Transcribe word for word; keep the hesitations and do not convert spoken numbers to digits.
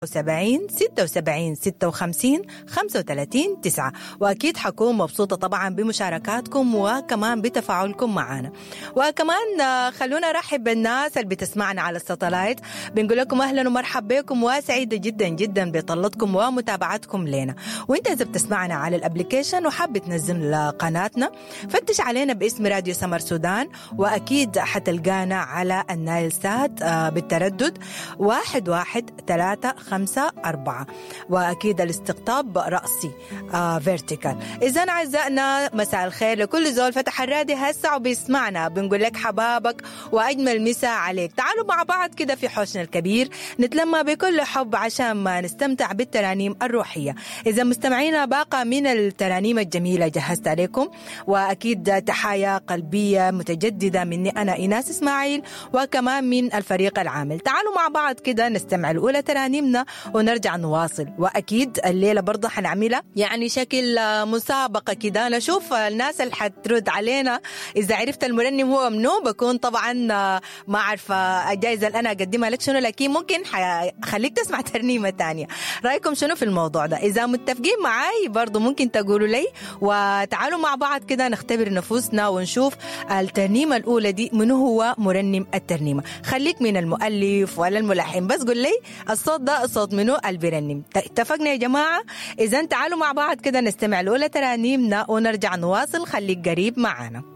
سبعين ستة وسبعين ستة وخمسين خمسة وتلاتين تسعة. وأكيد حكون مبسوطة طبعا بمشاركاتكم وكمان بتفاعلكم معنا. وكمان خلونا نرحب بالناس اللي بتسمعنا على الساتلايت، بنقول لكم أهلا ومرحبا بكم وسعيدة جدا جدا بطلتكم ومتابعتكم لنا. وانت إذا بتسمعنا على ال application وحابة تنزل قناتنا فتش علينا باسم راديو سمر سودان، وأكيد حتلقانا على النايل سات بالتردد واحد واحد ثلاثة خمسة أربعة، وأكيد الاستقطاب رأسي آه vertical. إذا أعزائنا مساء الخير لكل زول فتح الراديو هسه وبيسمعنا، بنقول لك حبابك وأجمل مساء عليك. تعالوا مع بعض كده في حوشنا الكبير نتلمى بكل حب عشان ما نستمتع بالترانيم الروحية. إذا مستمعينا باقة من الترانيم الجميلة جهزت عليكم، وأكيد تحايا قلبية متجددة مني أنا إيناس إسماعيل وكمان من الفريق العامل. تعالوا مع بعض كده نستمع الأولى ترانيمنا ونرجع نواصل. وأكيد الليلة برضه حنعملها يعني شكل مسابقة كده، نشوف الناس اللي حترد علينا إذا عرفت المرنم هو منو. بكون طبعا ما عارفة الجائزة اللي أنا أقدمها لك شنو، لكن ممكن خليك تسمع ترنيمة تانية. رأيكم شنو في الموضوع ده؟ إذا متفقين معاي برضه ممكن تقولوا لي، وتعالوا مع بعض كده نختبر نفوسنا ونشوف الترنيمة الأولى دي منو هو مرنم الترنيمة. خليك من المؤلف ولا الملحن، بس قل لي الصوت ده صوت منو البرنم. اتفقنا يا جماعة؟ إذا تعالوا مع بعض كده نستمع الأولى ترانيمنا ونرجع نواصل. خليك قريب معانا.